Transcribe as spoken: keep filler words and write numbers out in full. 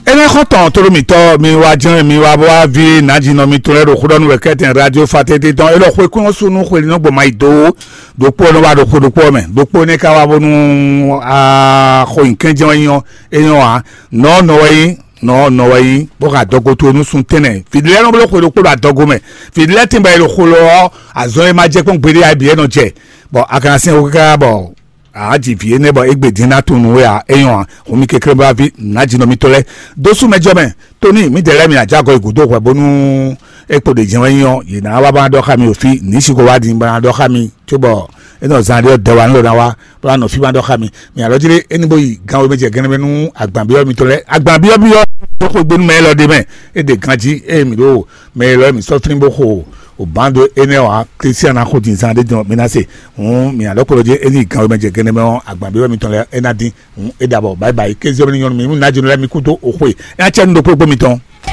Énɛ́ xɔ́ntɔn tlóló mǐtɔn, mi wá jɛ́n mi wá bó wá ví nǎjínɔ mitɔn lɛ́ɛ ɖo xó ɖɔ nú wɛ kɛ́tɛn radio fatɛ́ntɛ́ tɔn. É ɖɔ xwekún ɔ́ súnú xwe nɔ gbɔn mayi dó. Ɖokpó ɔ́ nɔ wá ɖo xwe ɖokpó ɔ́ mɛ, ɖokpó énɛ́ ka wá bónú a xo nyǐkɛ́n jɛ́n wɛ nyí ɔ́, é nyɔ́ ǎ. Nɔ̌ nɔ wɛ nyí, nɔ̌ nɔ wɛ nyí, bó xa adɔgo towe nú sun tɛ́nnɛ. Vǐɖé lɛ́ɛ nɔ bló xwe ɖokpó ɖo adɔgo mɛ. Vǐɖé lɛ́ɛ tɛ́nbɔ e ɖo xo lɔ ɔ́, azɔn e ma jɛ kpɔ́n gbeɖé ǎ, bǐ é nɔ jɛ. Bɔ a ka ná syɛ́n xó káká bɔ a ji vǐ énɛ́ bɔ é gbe dín ná tunwun nú we ǎ, é nyɔ́ ǎ. Hǔn mi kɛnklɛ́n bó wá ví nǎjínɔ mitɔn lɛ́ɛ dó sú mɛ jɔ mɛ. Tóní mǐdɛɛ lɛ́ɛ mi ná jɛ agɔ yi gǔdo hwɛ bónú é kpo ɖě jɛ́n wɛ nyí ɔ́, yě ná wá bó ná ɖɔ xá mi ɖo fí, nǐ sixo wá ɖi bó ná ɖɔ xá mi, cóbɔ é nɔ zán ɖé ɔ́, dɛ wa nú ɖo ná wá bó ná nɔ fí bó ná ɖɔ xá mi. Mi alɔ jí ɖé é ní bó yi gan wémɛ jɛ gɛ́nɛ́ mɛ nú agbanbyɔ́ mitɔn lɛ́ɛ. Agbanbyɔ́byɔ́ xwegbe nú mɛ élɔ́ ɖé mɛ, é ɖe ganjí ée mǐ ɖo mɛ élɔ́ mǐ sɔ́ flín bó xo o bǎn dó énɛ́ ɔ́ ǎ. Klísián ná xo din zán ɖé din ɔ́, mi ná se. Hǔn mi alɔ kplɔ́ jí é ní yi gan wémɛ jɛ gɛ́nɛ́ mɛ ɔ́, agbanbyɔ́ mitɔn lɛ́ɛ é ná dín. Hǔn é ɖabɔ bǎyi bǎyi kéziyɔ́ mi ní nyɔ́ nú mi, nú ná jɛ nú lɛ́ɛ mi kú dó o xwe. É ná cɛ nú ɖokpó ɖokpó mitɔn.